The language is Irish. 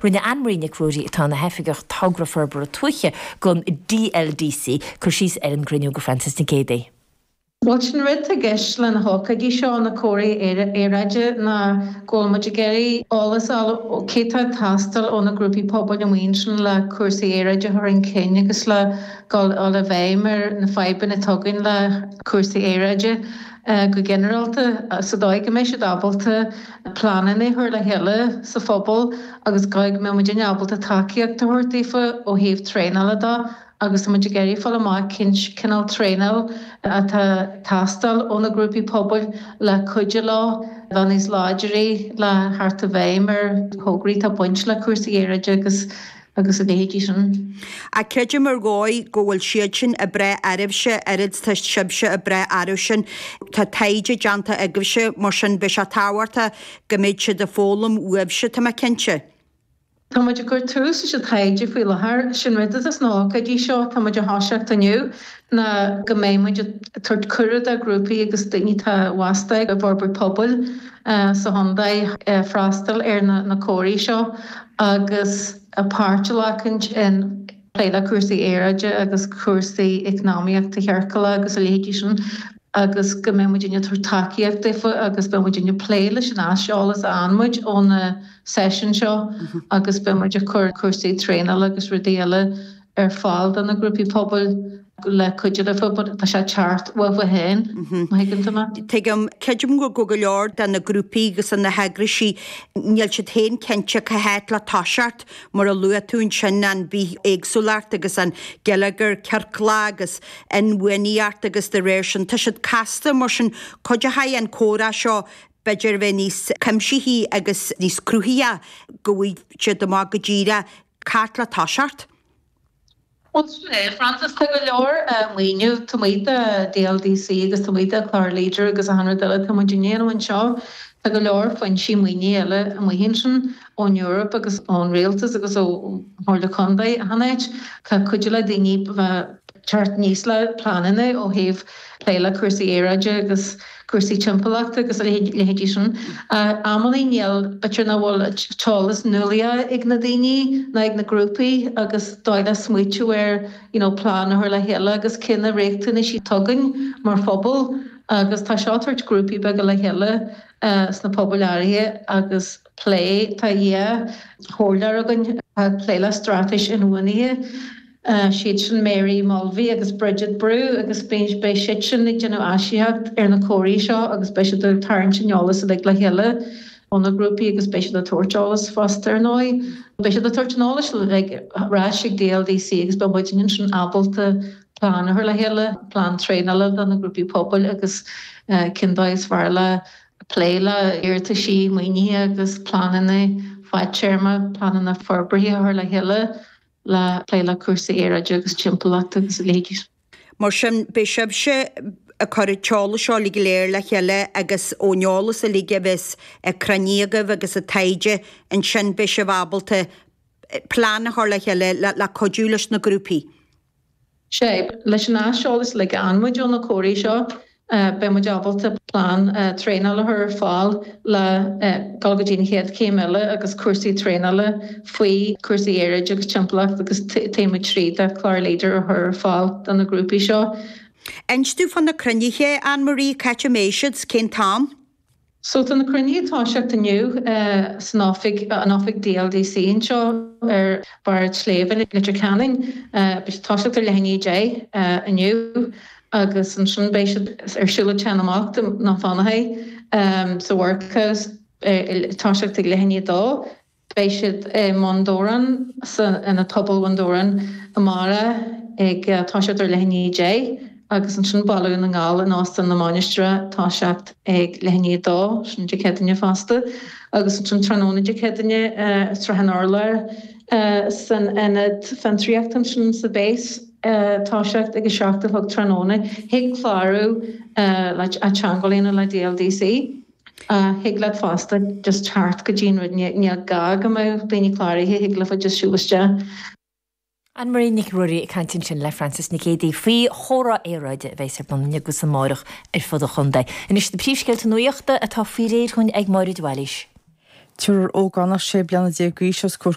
Rinne Anne Marie Nic Ruairí, atá ina hOifigeach Togra Forbartha Tuaithe don DLDC, cur síos ar an gcruinniú do Frances Nic Géadaigh. Bhuel, sin rud atá i gceist le na hócáidí seo, na comhráí aeráide, ná go bhfuil muid ag iarraidh eolas a fháil ó cé tá ag teastáil ó na grúpaí pobail amuigh ansin le cúrsaí aeráide a chur chun cinn agus le dul i bhfeidhm ar na fadhbanna atá againn le cúrsaí aeráide go ginearálta sa dóigh go mbeidh siad ábalta pleananna a chur le chéile sa phobal agus go mbeidh muidinne ábalta tacaíocht a thabhairt daofa ó thaobh traenála de. agus tá muid ag iarraidh fáil amach cén cineál traenáil atá ag teastáil ó na grúpaí pobail le cuidiú leo bheith níos láidre le theacht i bhfeidhm ar thograí atá ag baint le cúrsaí aeráide agus agus a leithéidí sin. Ach creidim ar dhóigh go bhfuil siad sin ag brath oraibhse oiread is tá sibhse ag brath orthu sin. Tá taighde déanta agaibhse, mar sin beidh sé tábhachtach go mbeidh siad ag foghlaim uaibhse, tá mé cinnte. Tá muid ag cur tús leis an taighde faoi láthair. Sin rud atá sna hócáidí seo atá muid a thoiseacht inniu ná go mbeidh muid ag tabhairt cuireadh do ghrúpaí agus daoine atá fostaithe i bhforbairt pobail sa chontae freastal ar na comhráí seo agus páirt a ghlacaint in plé le cúrsaí aeráide agus cúrsaí eacnamaíochta chiorclaí agus a leithéidí sin agus go mbeidh muidinne ag tabhairt tacaíocht daofa agus beidh muidinne ag plé leis an aiseolas a fhaigheann muid ó na seisiúin seo agus beidh muid ag cur cúrsaí traenála agus rudaí eile ar fáil do na grúpaí pobail le cuidiú leofa but tá sé ag teacht uathu féin, má thuigeann tú mé. Tuigim. Creidim go go leor de na grúpaí agus na heagraisí, níl siad féin cinnte cá háit le toiseacht, mar a luaigh tú ansin, an bithéagsúlacht agus an geilleagar ciorclach agus inbhuanaitheacht agus de réir sin, tá siad casta, mar sin cuideoidh an comhrá seo b'fhéidir a bheith níos cuimsithí agus níos cruthaithí go bhfaighidh siad amach go díreach cá háit le toiseacht. Bhuel, sin é, Frances, tá go leor maoiniú taobh amuigh de DLDC agus taobh amuigh de chlár Leader agus achan rud eile atá muid a dhéanamh anseo. Tá go leor foinsí maoinithe eile amuigh ansin ón Eoraip agus ón rialtas agus ó Chomhairle Contae achan áit. Tá cuidiú le daoine bheith teacht aníos le pleananna ó thaobh plé le cúrsaí aeráide agus cúrsaí timpeallachta agus a leithéidí sin. Amannaí níl, b'fhéidir nach bhfuil t-eolas nuálaíoch ag na daoine ná ag na grúpaí agus dóigh le smaoitiú ar you know plean a chur le chéile agus cé na riachtanaisí atá againn mar phobal agus tá seo ag tabhairt grúpaí beaga le chéile sna pobail áirithe agus plé, tá dhá chomhairleoir againn atá ag plé le straitéis inbhuanaithe. Siad sin Mary Mulvey agus Bridget Brew agus beidh siad sin ag déanamh aisíocht ar na comhráí seo agus beidh siad ag tarraingt an eolas uilig le chéile ó na grúpaí agus beidh siad ag tabhairt eolas fosta ar ndóigh. Beidh siad ag tabhairt an eolais uilig ar ais ag DLDC agus beidh muidinne ansin ábalta plean a chur le chéile, plean traenála do na grúpaí pobail agus cén dóigh is fearr le plé le iarrataisí maoinithe agus pleananna fadtéarma, pleananna forbartha a chur le chéile. le plé le cúrsaí aeráide agus timpeallachta agus a leithéidí. Mar sin, beidh sibhse ag cur an t-eolas seo uilig go léir le chéile agus ón eolas uilig a bheas cruinnithe agaibh agus an taighde, ansin beidh sibh ábalta plean a chur le chéile le cuidiú leis na grúpaí. Sea, leis an aiseolas uilig a fhaigheann muid ó na comhráí seo, beidh muid ábalta plean traenála a chur ar fáil le dul go dtí an chéad chéim eile agus cúrsaí traenála faoi chúrsaí aeráide agus timpeallacht agus taobh muid tríd de chlár Leader a chur ar fáil do na grúpaí seo. Inis dúinn fá na cruinnithe, Anne Marie, cá háit a mbeidh siad, cén t-am? So tá na cruinnithe ag toiseacht inniu san oifig, an oifig DLDC anseo ar bharr an tsléibhe i Leitir Ceanainn. Beidh siad ag toiseacht ar leath i ndiaidh 10 inniu agus ansin beidh siad ar siúl ag Teach na mBocht i nDún Fionnachaidh sa Workhouse ag toiseacht ag leath i ndiaidh 2. Beidh siad i mBun Dobhráin, san Ionad Pobail Bhun Dobhráin amárach ag toiseacht ar leath i ndiaidh 10 agus ansin Baile Dhún na nGall in Óstán na Mainistreach toiseacht ag leath i ndiaidh 2, sin Dé Céadaoine fosta, agus ansin tráthnóna Dé Céadaoine Srath an Urláir san Ionad Fiontraíochta ansin sa Base toiseacht ag 7 a chlog tráthnóna. Thig clárú le teagmháil a dhéanamh le DLDC. Thig leat fosta just teacht go dtí an rud, níl gá go mbeadh daoine cláraithe, thig leofa just siúl isteach. Anne Marie Nic Ruairí ag caint ansin le Frances Nic Géadaigh faoi chomhrá aeráide a bheas ar bun inniu agus amárach ar fud an chontae. Anois na príomhscéalta nuachta atá faoi réir dhúinn ag Máire de Bhailís. Triúr ógánach 16 bliana d'aois os comhair.